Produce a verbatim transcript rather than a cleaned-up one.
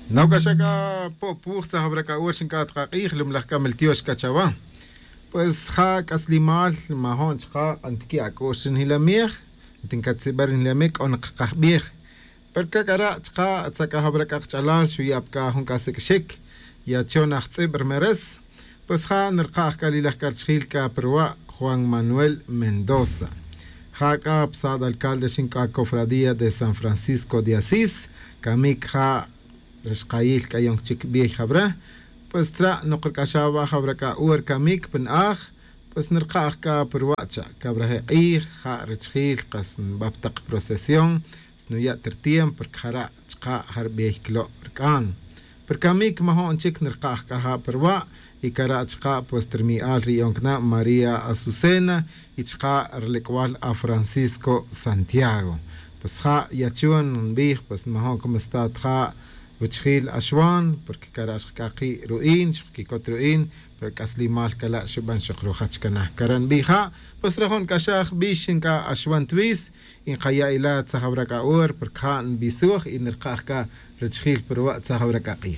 Nawc'axa c'a po'puj tzajawra c'a wer xinc'at ka k'ij lumlaj c'a miltiox c'a chawa. Pues ja c'aslimal majo'n chaka' antiqui' ac'u'x ri njilamej. Tincatz'iba' ri njilamej c'o nakajbej. Pero c'a c'ara' chaka' atza c'a jawra c'a kach'alal xuya' pa c'a jun c'a sic'xic. Yacho' najtz'ib ri meres. Pues ja nirkaj c'a lilaj c'a richijil c'a pa ruwa' juan manuel mendoza. Ja c'a pa sad alcalde xinc'a cofradía de san francisco de asís. Camic ja rixkayil c'a yon chic bey jawra. Pues tra' nok ric'axa wa' jawra c'a wer camic pa na'aj. Pues nirkaj c'a pa ruwa' cha' cawra je k'ij ja richijil kas nba pa tak procesión. Snuya' ta ritiempo porque jara' chaka' ja ribey clo' ric'an. Pero camic majo'n chic nirkaj c'a ja pa ruwa'. Y cara' chaka' pues ta rimi'al ri yon cana' maría azucena y chaka' rilec'bal a francisco santiago. Pues ja' yacho' nbij pues majo'n como sta ta ja' ruchijil axwan porque cara' xkac'aki' ru'in xkquicot ru'in. Pero c'aslimal cala' xuban xok rujach cana cara' nbij ja'. Pues rajon c'axaj bix xinc'a axwan twis. Y nkaya' ila tzajawra c'a wer porque ja' nbisuj y nirkaj c'a richijil pa ruwa' tzajawra c'a k'ij.